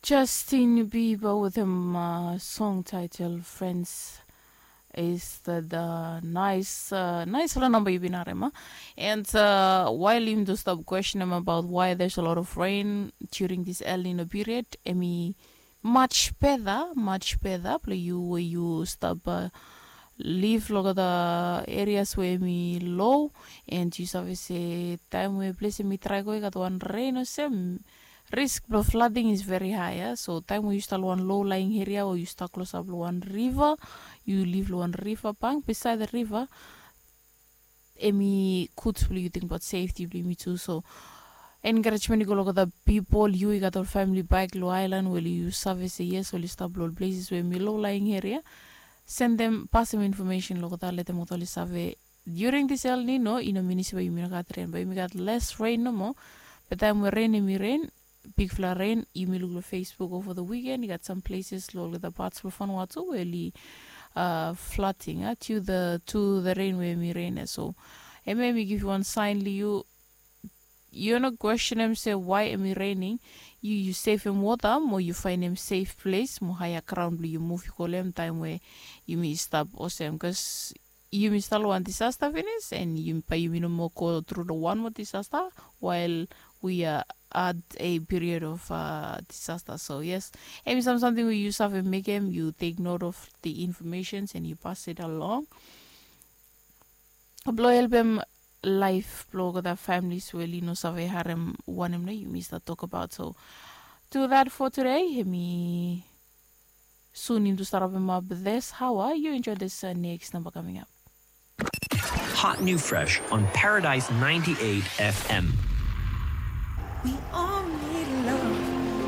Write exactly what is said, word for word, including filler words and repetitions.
Justin Bieber with him uh, song title Friends is the, the nice uh, nice la number you've been harem. And uh, while him to stop question him about why there's a lot of rain during this El Nino period, emi much better, much better. Play you where you stop uh, live look at the areas where me low and you service a time where place me try go got one rain or some risk of flooding is very high, yeah? So time we you start one low lying area or you start close up one river, you live one river bank beside the river. Emi good for you think about safety for me too. So encouragement go look at the people you got all family bike low island where you service a yes or you stop low places where me low lying area. Send them pass them information look at that let them all survey during this El Nino, ino minisi we yumi no gat rain, but yumi gat less rain nomo. But time we rain yumi rain, big fla rain, yumi look lo Facebook over the weekend. You got some places lo the parts of Vanuatu where li uh, flooding uh, to the to the rain where yumi rain. So, and maybe give you one sign li you. You no question him say why am I raining? You you save him water, mo you find him safe place, mo higher ground, you move you call him time where you may stop or same because you may start one disaster finish and you by you know more go through the one more disaster while we are at a period of uh, disaster. So yes, emi some something we use have make him, you take note of the informations and you pass it along. Blo help him life blo go the families where you know save harem one him you may start talk about. So do that for today. Hemi Soon into start up him up this. How are you? Enjoy this uh, next number coming up. Hot new fresh on Paradise ninety-eight F M. We all need